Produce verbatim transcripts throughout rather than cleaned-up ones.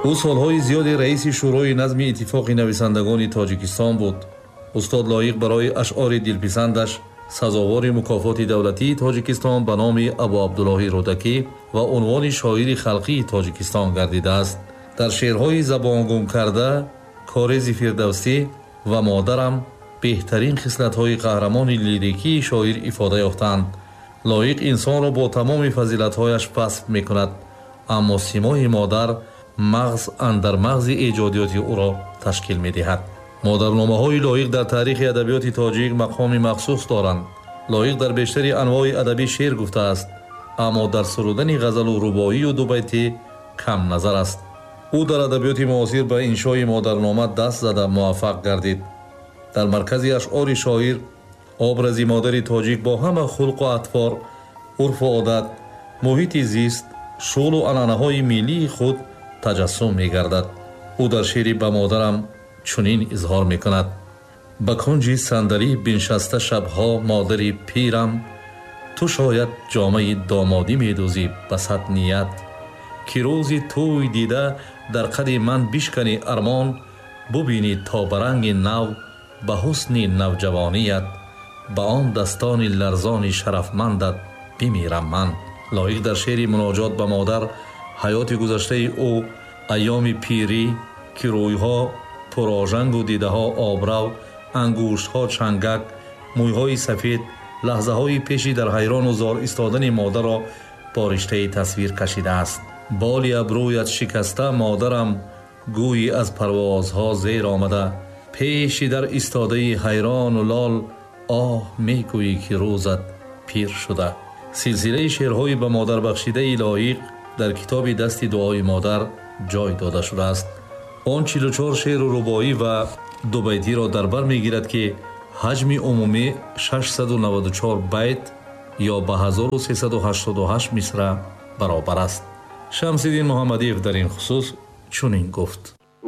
Ӯ солҳои зиёде раиси Шӯрои назми Иттифоқи нависандагони Тоҷикистон буд. Устод Лоиқ барои ашъори дилписандаш сазовори мукофоти давлатии Тоҷикистон ба номи Абуабдуллоҳи Рӯдакӣ ва унвони шоири халқии Тоҷикистон гардидааст. Дар шеърҳои забонгум карда, Корези Фирдавсӣ ва Модарам беҳтарин хислатҳои қаҳрамони лирикии шоир ифода ёфтаанд. Лоиқ инсонро бо тамоми фазилатҳояш васф мекунад, аммо симои модар мағз андар мағзи эҷодиёти ӯро ташкил медиҳад. Модарномаҳои Лоиқ дар таърихи адабиёти тоҷик мақоми махсус доранд. Лоиқ дар бештари анвои адабӣ шеър гуфтааст, аммо дар сурудани ғазалу рубоию дубайтӣ кам назар аст. Ӯ дар адабиёти муосир ба иншои модарнома даст зада муваффақ гардид. Дар маркази ашъори шоир образи модари тоҷик бо ҳама хулқу атвор, урфу одат, муҳити зист, шуғлу анъанаҳои миллии худ таҷассум мегардад. Ӯ дар шеъри «Ба модарам» чунин изҳор мекунад: ба кунҷи сандалӣ биншаста шабҳо модари пирам, ту шояд ҷомаи домодӣ медӯзӣ ба сад ният, ки рӯзи тӯй дида дар қади ман бишканӣ армон, бубинӣ то ба ранги нав, ба ҳусни навҷавоният, ба он дастони ларзони шарафмандат бимирам ман. Лоиқ дар шеъри «Муноҷот ба модар» ҳаёти гузаштаи ӯ, айёми пирӣ, ки рӯйҳо пурожангу дидаҳо обрав, ангуштҳо чангак, мӯйҳои сафед, лаҳзаҳои пеши дар ҳайрону зор истодани модарро бо риштаи тасвир кашидааст. Боли абрӯят шикаста, модарам, гӯйӣ аз парвозҳо зер омада, пеши дар истодаи ҳайрону лол, оҳ мегӯӣ, ки рӯзат пир шуда. Силсилаи шеърҳои ба модарбахшидаи Лоиқ дар китоби «Дасти дуои модар» ҷой дода шудааст. Он чилу чор шеъру рубоӣ ва дубайтиро дар бар мегирад, ки ҳаҷми умумӣ шашсаду наваду чор байт ё ба ҳазору сесаду ҳаштоду ҳашт мисра баробар аст. Шамсиддин Муҳаммадиев дар ин хусус чунин гуфт: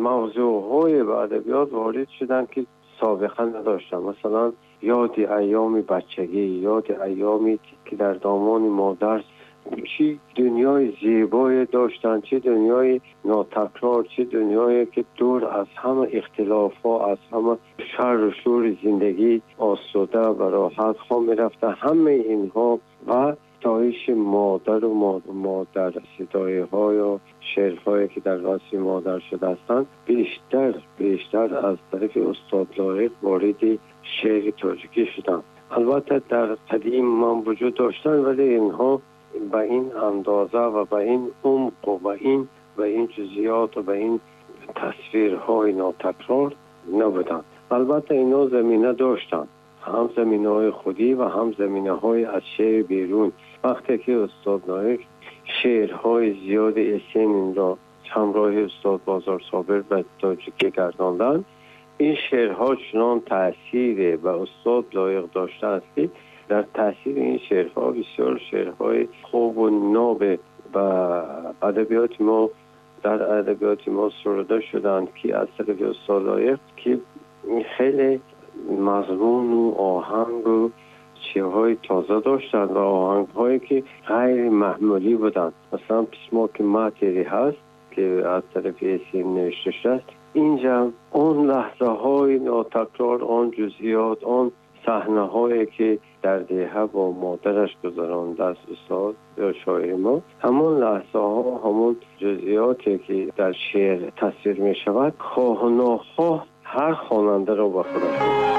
Мавзӯъҳое ба адабиёт ворид шуданд, ки собиқа надоштанд. Масалан, ёди айёми бачагӣ, ёди айёме ки дар домони модар чӣ дунёи зебое доштанд, чӣ дунёи нотакрор, чӣ дунёе ки дур аз ҳама ихтилофҳо, аз ҳама шарру шӯри зиндагӣ осуда ва роҳат хоб мерафтанд. Ҳамаи инҳо ва ситоиши модару модар, ситоиҳою шеърҳое ки дар васфи модар шуда ҳастанд, бештар бештар аз тарафи устод Лоиқ вориди шеъри тоҷикӣ шуданд. Албатта, дар қадим ман вуҷуд доштанд, вале инҳо ба ин андоза ва ба ин умқ ва ба ин ба ин ҷузъиёт ва ба ин тасвирҳои нотакрор набуданд. Албатта, инҳо замина доштанд, ҳам заминаҳои худӣ ва ҳам заминаҳои аз шеъри берун. Вақте ки устод Лоиқ шеърҳои зиёди Есенинро ҳамроҳи устод Бозор Собир ба тоҷикӣ гардонданд, ин шеърҳо чунон таъсире ба устод Лоиқ доштааст, ки дар таъсири ин шеърҳо бисёр шеърҳои хубу ноб ба адабиёти мо дар адабиёти мо суруда шуданд, ки аз тарафи устод Лоиқ, ки хеле мазмуну оҳангу чизҳои тоза доштанд ва оҳангҳое ки ғайри маъмулӣ буданд. Масалан, «Письмо к матери» ҳаст, ки аз тарафи Есенин навишта шудааст. Инҷа он лаҳзаҳои нотакрор, он ҷузъиёт, он саҳнаҳое ки дар деҳа бо модараш гузарондааст устод ё шоири мо, ҳамон лаҳзаҳо, ҳамон ҷузъиёте ки дар шеър тасвир мешавад, хоҳу нохоҳ ҳар хонандаро ба худаш